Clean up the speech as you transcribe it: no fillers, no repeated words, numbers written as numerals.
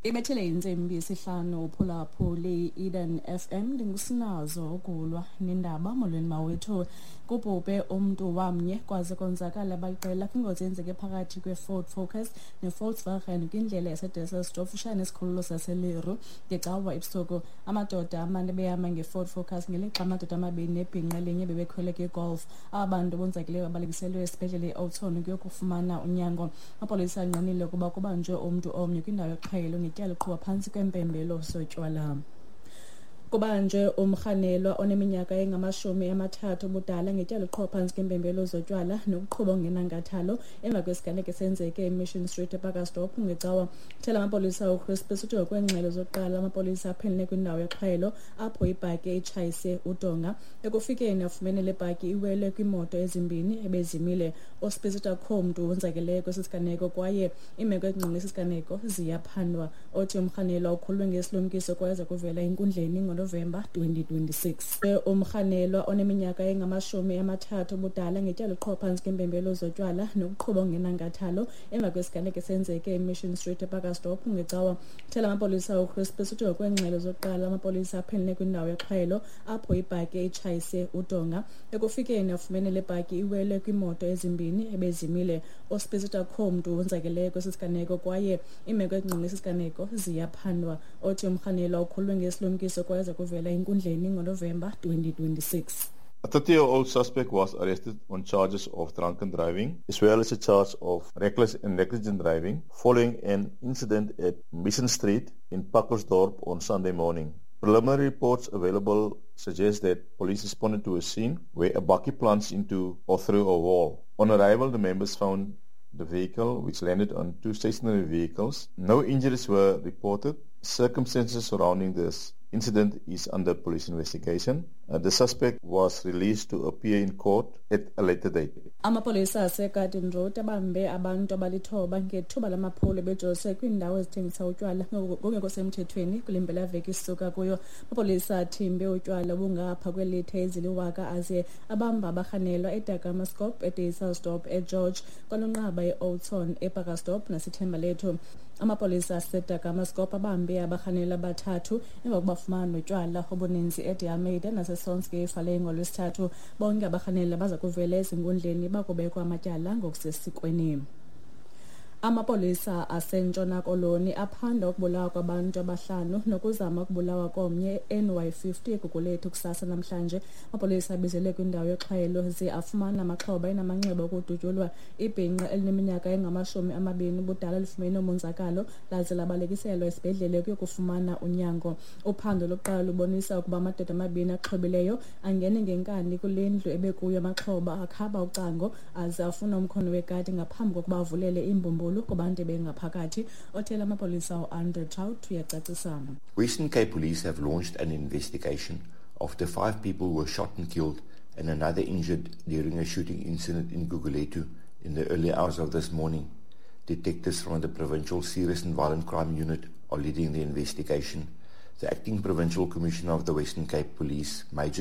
Ibethele intsimbi yesihlanu uphulaphuli Eden FM. Ndingusinazo ukulwa nendaba. Molweni mawethu. Kubhubhe umntu wamnye kwaze konzakala baliqela kwingozi eyenzeke phakathi kwe-Ford Focus ne-Volkswagen kwindlela yaseDesselsdorp futshane nesikhululo saseLeru ngeCawa ebusuku. Amadoda amane ebehamba nge-Ford Focus ngelixa amadoda amabini nebhinqa elinye bebekhwele kwi-Golf. Aba bantu bonzakeleyo babalekiselwe esibhedlele eOudtshoorn ukuyokufumana unyango. Amapolisa angqinile ukuba kubanjwe umntu omnye kwindawo yoxhwayelo ngetyala uqhuba phantsi kwempembelo zotywala. Kubanjwe umrhanelwa oneminyaka engama-30 ubudala ngetyala uqhuba phantsi kwempembelo zotywala nokuqhuba ongenankathalo emva kwesiganeko esenzeke eMission Street ePacaltsdorp ngeCawa. Thela amapolisa uChris uthi ngokweengxelo zokuqala amapolisa aphenele kwindawo yoxhwayelo apho ibhaki itshayise udonga. Ekufikeni afumene le bhaki iwele kwiimoto ezimbini ebezimile. USpies uthi akukho mntu wonzakeleyo kwesi siganeko kwaye iimeko ezingqonge esi siganeko ziyaphandwa. Othi umrhanelwa ukhululwe ngesilumkiso kwaye uza kuvela enkundleni ngoNovemba 2026. Umrhanelwa oneminyaka engama-30 ubudala ngetyala uqhuba phantsi kwempembelo zotywala nokuqhuba ongenankathalo emva kwesiganeko esenzeke eMission Street ePacaltsdorp ngeCawa. Thela amapolisa uChris uthi ngokweengxelo zokuqala amapolisa aphenele kwindawo yoxhwayelo apho ibhaki itshayise udonga. Ekufikeni afumene le bhaki iwele kwiimoto ezimbini ebezimile. USpies uthi akukho mntu wonzakeleyo kwesi siganeko kwaye iimeko ezingqonge esi siganeko ziyaphandwa. Othi umrhanelwa ukhululwe ngesilumkiso kwaye uza kuvela enkundleni ngoNovemba 2026. A 30-year-old suspect was arrested on charges of drunken driving, as well as a charge of reckless and negligent driving, following an incident at Mission Street in Pacaltsdorp on Sunday morning. Preliminary reports available suggest that police responded to a scene where a bakkie plunged into or through a wall. On arrival, the members found the vehicle, which landed on two stationary vehicles. No injuries were reported. Circumstances surrounding this incident is under police investigation. The suspect was released to appear in court at a later date. Amapolisa aseGarden Road abambe abantu abalithoba ngethuba lamaphulo bejolise kwiindawo ezithengisa utywala ngokungekho semthethweni kule mpelaveki sisuka kuyo. Amapolisa athimbe utywala obungapha kweelitha eziliwaka aze abamba abarhanelwa eDagamaskop, eDesselsdorp, eGeorge, kwaNonqaba, eOudtshoorn, ePacaltsdorp naseThembalethu. Amapolisa aseDagamaskop abambe abarhanelwa abathathu emva kokubafumana notywala obuninzi eDiomede naseSonskeifalei ngoLwesithathu. Bonke abarhanelwa baza kuvela ezinkundleni bakubekwa amatyala ngokusesikweni. Amapolisa aseNtshona Koloni aphanda ukubulawa kwabantu abahlanu nokuzama ukubulawa komnye NY50 eGugulethu kusasa namhlanje. Amapolisa abizelwe kwindawo yoxhwayelo ze afumana amaxhoba enamanxeba okudutyulwa. Ibhinqa elineminyaka engama-20 ubudala lifumene umonzakalo laze labalekiselwa esibhedlele ukuyokufumana unyango. Uphando lokuqala lubonisa ukuba amadoda amabini axhobileyo angene ngenkani kule ndlu ebekuyo amaxhoba, akhaba ucango aze afuna umkhono wekati ngaphambi kokuba avulele iimbumbulu kubantu bengaphakathi. Othela amapolisa uAndre Traut uyacacisa. Western Cape Police have launched an investigation after five people were shot and killed and another injured during a shooting incident in Gugulethu in the early hours of this morning. Detectives from the Provincial Serious and Violent Crime Unit are leading the investigation. The acting Provincial Commissioner of the Western Cape Police, Major